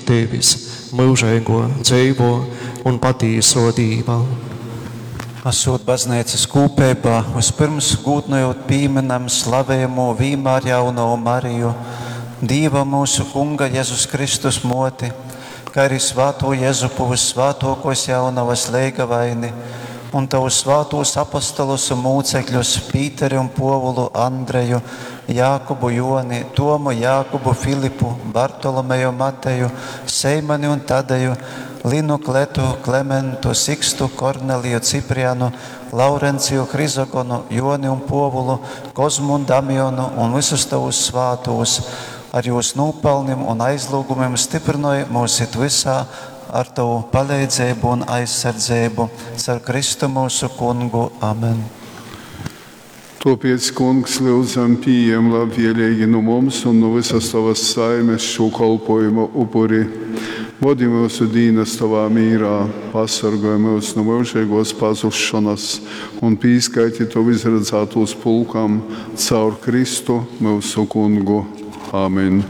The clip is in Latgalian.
Tevis, myužeigō, dzeivō un patīsō Dīva. Asūt Bazneicas kūpeibā, vyspyrms gūdnojūt pīmynam slavejamū Vīnmārjaunovu Mariju, Dīva myusu Kunga Jezus Kristus Mōti, kai ari svātū Jezupu vyssvātōkōs Jaunovas leigavaini un tovus svātūs apostolus un mūcekļus, Pīteri un Pōvulu, Andreju, Jākubu, Jōni, Tomu, Jākubu, Filipu, Bartolomeju, Mateju, Seimani un Tadeju, Linu, Kletu, Klementu, Sikstu, Korneliju, Ciprianu, Laurenciju, Hrizogonu, Joni un Pōvulu, Kozmu un Damionu un vysus tovus svātūs, ar jūs nūpelnim un aizlūgumim styprynoj mūs it vysā ar tovu paleidzeibu un aizsardzeibu. Caur Kristu myusu Kungu. Amen. Tōpēc, Kungs, lyudzam, pījem labvēleigi nu mums un nu vysas tovas saimes šū kolpōjuma upuri. Vodi myusu dīnas tovā mīrā, pasorgoj myus nu myužeigōs pazusšonas un pīskaiti tovu izradzātūs pulkam caur Kristu, myusu Kungu. Amen.